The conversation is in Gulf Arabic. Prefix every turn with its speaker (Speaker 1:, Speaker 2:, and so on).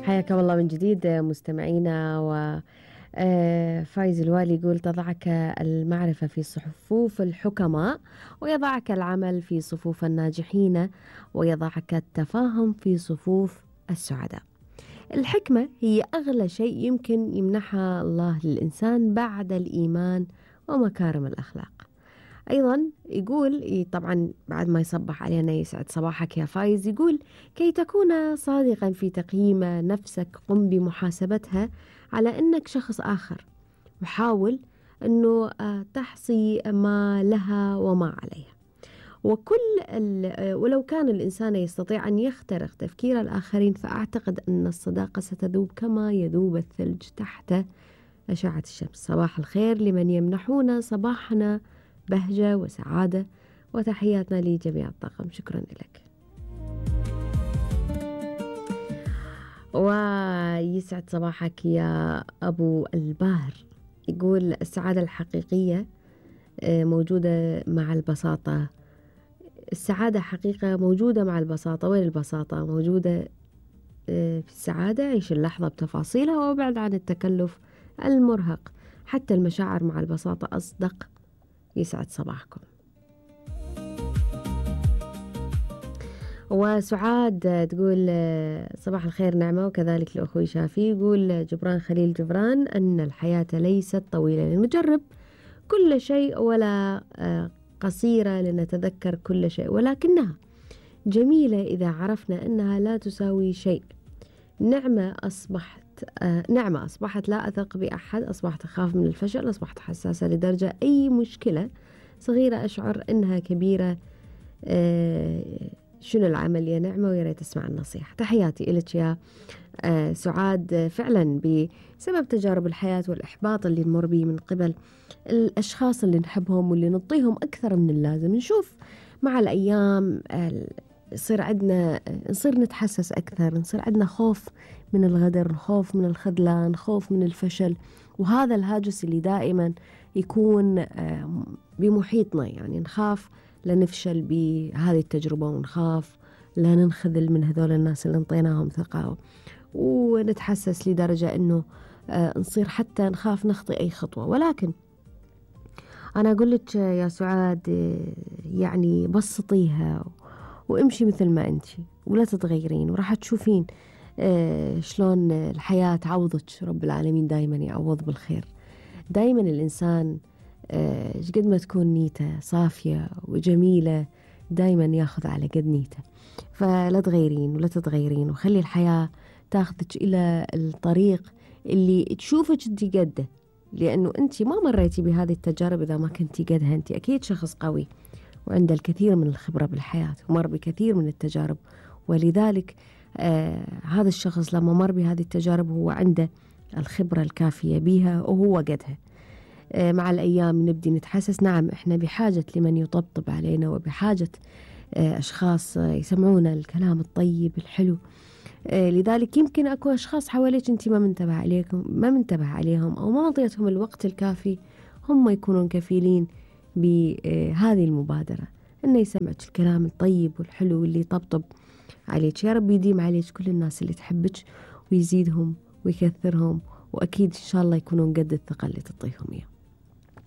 Speaker 1: حياكم الله من جديد مستمعينا. فايز الوالي يقول: تضعك المعرفة في صفوف الحكماء، ويضعك العمل في صفوف الناجحين، ويضعك التفاهم في صفوف السعداء. الحكمة هي أغلى شيء يمكن يمنحها الله للإنسان بعد الإيمان ومكارم الأخلاق. أيضا يقول، طبعا بعد ما يصبح علينا يسعد صباحك يا فايز، يقول: كي تكون صادقا في تقييم نفسك قم بمحاسبتها على أنك شخص آخر، وحاول أنه تحصي ما لها وما عليها. ولو كان الإنسان يستطيع أن يخترق تفكير الآخرين، فأعتقد أن الصداقة ستذوب كما يذوب الثلج تحت أشعة الشمس. صباح الخير لمن يمنحون صباحنا بهجة وسعادة، وتحياتنا لجميع الطاقم. شكرا لك. ويسعد صباحك يا أبو الباهر، يقول: السعادة الحقيقية موجودة مع البساطة. السعادة حقيقة موجودة مع البساطة. وين البساطة؟ موجودة في السعادة. عيش اللحظة بتفاصيلها وابعد عن التكلف المرهق. حتى المشاعر مع البساطة أصدق. يسعد صباحكم. وسعاد تقول: صباح الخير نعمة، وكذلك لأخوي شافي. يقول جبران خليل جبران أن الحياة ليست طويلة لنجرب كل شيء، ولا قصيرة لنتذكر كل شيء، ولكنها جميلة إذا عرفنا أنها لا تساوي شيء. نعمة أصبحت لا أثق بأحد، أصبحت أخاف من الفشل، أصبحت حساسة لدرجة أي مشكلة صغيرة أشعر أنها كبيرة. شنو العمل يا نعمة؟ ويا ريت أسمع النصيحة. تحياتي إلك يا سعاد. فعلا بسبب تجارب الحياة والإحباط اللي نمر به من قبل الأشخاص اللي نحبهم واللي نعطيهم أكثر من اللازم، نشوف مع الأيام نصير نتحسس أكثر، نصير عندنا خوف من الغدر، خوف من الخذلان، خوف من الفشل. وهذا الهاجس اللي دائما يكون بمحيطنا، يعني نخاف لنفشل بهذه التجربة، ونخاف لا ننخذل من هذول الناس اللي انطيناهم ثقة، ونتحسس لدرجة أنه نصير حتى نخاف نخطي أي خطوة. ولكن أنا أقول لك يا سعاد، يعني بسطيها وامشي مثل ما أنت، ولا تتغيرين، وراح تشوفين شلون الحياة تعوضك. رب العالمين دايما يعوض بالخير. دايما الإنسان قد ما تكون نيته صافية وجميلة دايما ياخذ على قد نيته. فلا تغيرين ولا تتغيرين، وخلي الحياة تاخذك إلى الطريق اللي تشوفك انت قده، لأنه انت ما مريتي بهذه التجارب إذا ما كنتي قدها. انت أكيد شخص قوي وعنده الكثير من الخبرة بالحياة، ومر بكثير من التجارب، ولذلك هذا الشخص لما مر بهذه التجارب هو عنده الخبرة الكافية بها وهو قدها. مع الأيام نبدي نتحسس، نعم إحنا بحاجة لمن يطبطب علينا، وبحاجة أشخاص يسمعونا الكلام الطيب الحلو. لذلك يمكن أكو أشخاص حواليك أنت ما منتبه عليهم، أو ما أعطيتهم الوقت الكافي، هم يكونون كفيلين بهذه المبادرة، إنه يسمعك الكلام الطيب والحلو اللي يطبطب عليك. يا رب يديم عليك كل الناس اللي تحبك، ويزيدهم ويكثرهم، وأكيد إن شاء الله يكونون قد الثقة اللي تعطيهم إياه.